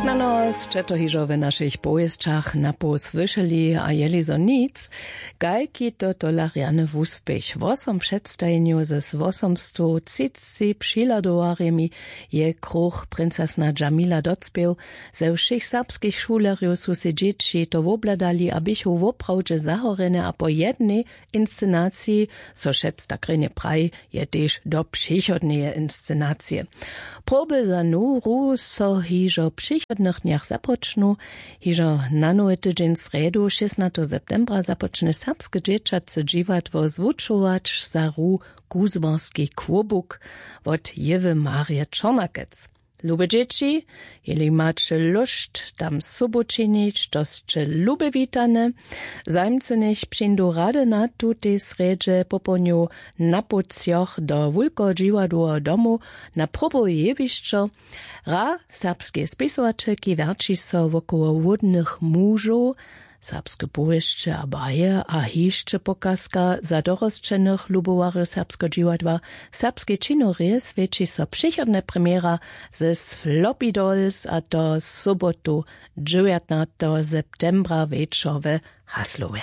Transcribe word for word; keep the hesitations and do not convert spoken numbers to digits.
Snano sće to hižo w našich powěsćach napoł słyšeli a jeli zo nic, kajki to tola rjany wuspěch. Wosom předstajenjow z wosomstowtřicci přihladowarjemi je kruch princesna džamila docpěł. Ze wšěch serbskich šulerjow su sej dźěći to wobhladali a běchu woprawdźe zahorjene a po jednej inscenaciji, zo šec tak rjenje praji, je tež do přichodneje inscenacije. Proby za nowru so hižo w přichodnych dnjach započnu. Hižo na nowy tydźeń srjedu šěsnateho septembra započne serbske dźěćace dźiwadło zwučować za hru kuzłarski kłobuk wot jewy marje čornakec. Lube dźěći, jeli maće lóšt tam sobu činić, to sće lube witane. Zajimcy njech přińdu rady na tutej srjedźe popołdnju na połdnjow do wulkeho dźiwadłoweho domu na probowe jewišćo. Hra serbskeje spisowaćelki wjerći so wokoło hłódnych mužow, serbske powěsće a baje a hišće pokazka za dorosćenych lubowarjow serbskeho dźiwadła. Serbskej činowrje swjeći so přichodne premjera ze sloppy dolls a to sobotu dźewjatnateho septembra wječor w haslowje.